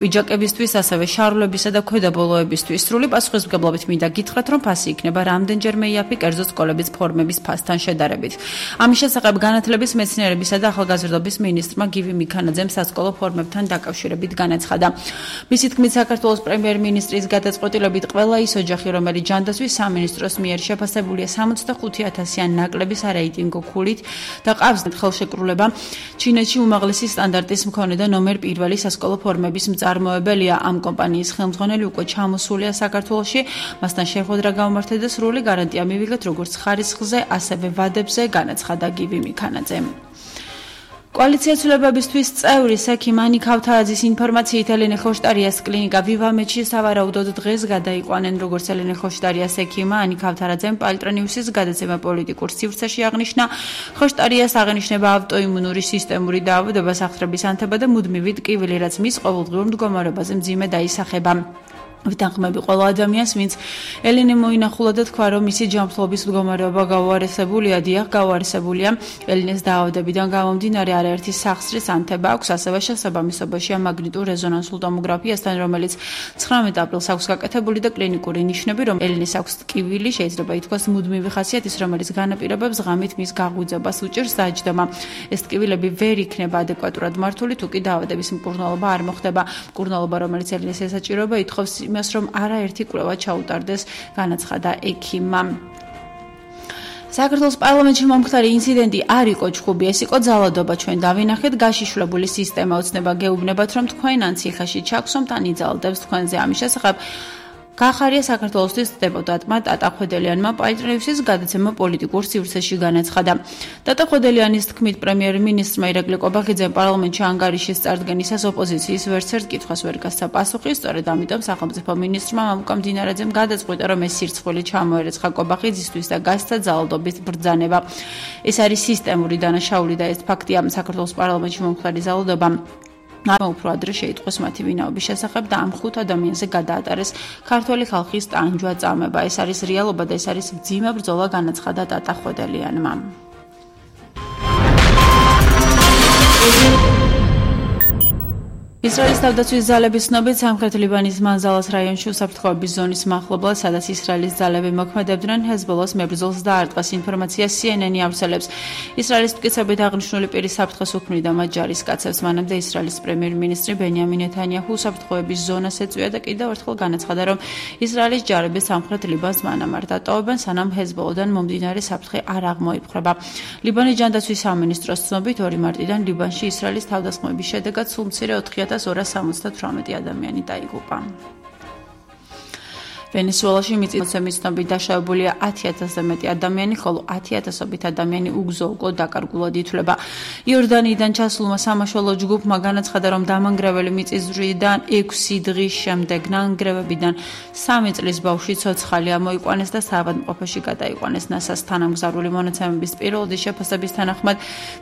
ვიჯაკებისთვის, ასევე შარვლებისა და ქვედაბოლოებისთვის სრული პასუხისმგებლობით მინდა გითხრათ, რომ ფასი იქნება რამდენჯერმე იაფი კერძო სკოლების ფორმების ფასთან შედარებით. ამის შესახებ განათლების, მეცნიერებისა და ახალგაზრდობის მინისტრმა გივი მიქანაძემ სასკოლო ფორმებთან დაკავშირებით განაცხადა. მისი თქმით, საქართველოს პრემიერ-მინისტრის გადაწყვეტილებით ყველა ის ოჯახი, რომელიც ჯანდაცვის სამინისტროს მიერ შეფასებულია 65,000-იან ნაკლებისარეიტინგო ქულით და ყავს ხელშეკრულება, ჩინეთში უმაღლესი სტანდარტის მქონე და ნომერ პირველი სასკოლო ფორმების მწარმოებელია. ამ კომპანიის ხელმძღვანელი უკვე ჩამოსულია საქართველოში, მასთან შეხვედრა გამართეთ და სრული გარანტია მივიღეთ როგორც ხარისხზე, ასევე ვადებზე, განაცხადა გივი მიქანაძემ. კოალიცია ცვლილებებისთვის წევრი სექი მანი ქავთარაძის ინფორმაციით ელენე ხოშტარიას კლინიკა ვივამეთში სავარაუდოდ დღეს გადაიყვანენ, როგორც ელენე ხოშტარიას ექიმმა ანი ქავთარაძემ პალტრონიუსის გადაცემა პოლიტიკურ სივრცეში აღნიშნა. ხოშტარიას აღნიშნება ავტოიმუნური სისტემური დაავადებას აღწრების ანთება და მუდმივი ტკივილი, რაც მის ყოველდღიურ მდგომარეობაზე მძიმე დაისახება. ვიტანხმები ყველა ადამიანს, ვინც ელენე მოინახულა და თქვა, რომ მისი ჯანმრთელობის მდგომარეობა გაუარესებულია. დიახ, გაუარესებულია. ელენეს დაავადებიდან გამომდინარე არაერთი სახსრის ანთება აქვს, ასევე შესაბამისობაში მაგნიტურ რეზონანსულ ტომოგრაფიასთან, რომელიც 19 აპრილს აქვს გაკეთებული და კლინიკური ნიშნები, რომ ელენეს აქვს ტკივილი, შეიძლება ითქვას მუდმივი ხასიათის, რომელიც განაპირობებს ღამით მის გაღვიძებას უჭერს დაჯდომა. ეს ტკივილები ვერ იქნება ადეკვატურად მართული, თუ კი დაავადების მკურნალობა არ მოხდება. მკურნალობა, რომელიც ელენეს ესაჭიროება, ითხოვს იმას, რომ არაერთი კვლევა ჩაუტარდეს, განაცხადა ექიმმა. საქართველოს პარლამენტში მომხდარი ინციდენტი არ იყო ჩხუბი, ეს იყო ძალადობა. ჩვენ დავინახეთ გაშიშვლებული სისტემა, ოცნება გეუბნებათ, რომ თქვენ ან ციხეში ჩაქვსომთ, ან იძალდებს თქვენზე. ამის შესახებ გახარია საქართველოსთვის დეპუტატმა ტატა ხვედელიანმა პალტრონიუსის გადაცემა პოლიტიკურ სივრცეში განაცხადა. ტატა ხვედელიანის თქმით, პრემიერ-მინისტრმა ირაკლი ყოფაქიძემ პარლამენტში ანგარიშის წარდგენისას ოპოზიციის ვერცერთ კითხვას ვერ გასცა პასუხი, სწორედ ამიტომ სახელმწიფო მინისტრმა მამუკა მდინარაძემ გადაწყვიტა, რომ ეს სირცხვილი ჩამოერეცხა ყოფაქიძისთვის და გასცა ძალადობის ბრძანება. ეს არის სისტემური დანაშაული და ეს ფაქტია. საქართველოს პარლამენტში მომხდარი ძალადობა უფრო ადრე შეიტყვეს მათი ვინაობის შესახებ და ამ 5 ადამიანზე გადაატარეს ქართველი ხალხის ტანჯვა წამება. ეს არის რეალობა და ეს არის მძიმე ბრძოლა, განაცხადა ტატა ხვედელიანმა. ისრაელის თავდაცვის ძალების ცნობით, სამხრეთ ლიბანის მანზალას რაიონში უსაფრთხოების ზონის მახლობლად, სადაც ისრაელის ძალები მოქმედებდნენ, ჰეზბოლას მებრძოლს დაარტყეს. ინფორმაცია CNN ავრცელებს. ისრაელის მტკიცებით აღნიშნული პირი საფრთხეს უქმნიდა მათ ჯარისკაცებს. მანამდე ისრაელის პრემიერ-მინისტრი ბენიამინ ნეთანიაჰუ უსაფრთხოების ზონას ეწვია და კიდევ ერთხელ განაცხადა, რომ ისრაელის ჯარები სამხრეთ ლიბანს მანამ არ დატოვებენ, სანამ ჰეზბოლოდან მომდინარე საფრთხე არ აღმოიფხვრება. ლიბანის ჯანდაცვის სამინისტროს ცნობით, 2 მარტიდან ლიბანში ისრაელის თავდასხმების შედეგად სულ მცირე 4,278 ადამიანი დაიღუპა. ვენესუელაში მიწისძვრების ცნობით დაშავებულია 10,000-ზე მეტი ადამიანი, ხოლო 10,000-ობით ადამიანი უგზო-უკვლოდ დაკარგულად ითვლება. იორდანიიდან ჩასულმა სამაშველო ჯგუფმა განაცხადა, რომ დამანგრეველი მიწისძვრიდან 6 დღის შემდეგ ნანგრევებიდან 3 წლის ბავშვი ცოცხალი ამოიყვანეს და საავადმყოფოში გადაიყვანეს. ნასას თანამგზავრული მონაცემების პირველადი შეფასების თანახმად,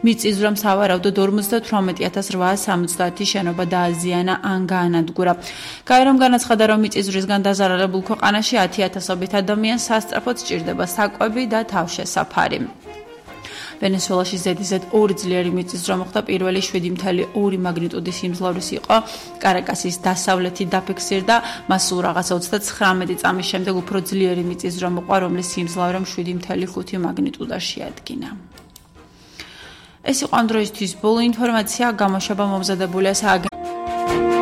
მიწისძვრამ სავარაუდოდ 58,870 შენობა დააზიანა ან გაანადგურა. გაერომ განაცხადა, რომ მიწისძვრისგან დაზარალებულ ქვეყანაში 10,000-ობით ადამიანს სასწრაფოდ სჭირდება საკვები და თავშესაფარი. ვენესუელაში ზედიზედ 2 ძლიერი მიწისძვრა მოხდა. პირველი 7,2 მაგნიტუდის სიმძლავრის იყო. კარაკასის დასავლეთით დაფიქსირდა. მას სულ რაღაცა 39 წამის შემდეგ უფრო ძლიერი მიწისძვრა მოყვა, რომლის სიმძლავრემ 7,5 მაგნიტუდას შეადგინა. ეს იყო ამ დროისთვის ბოლო ინფორმაცია. გამოშვება მომზადებულია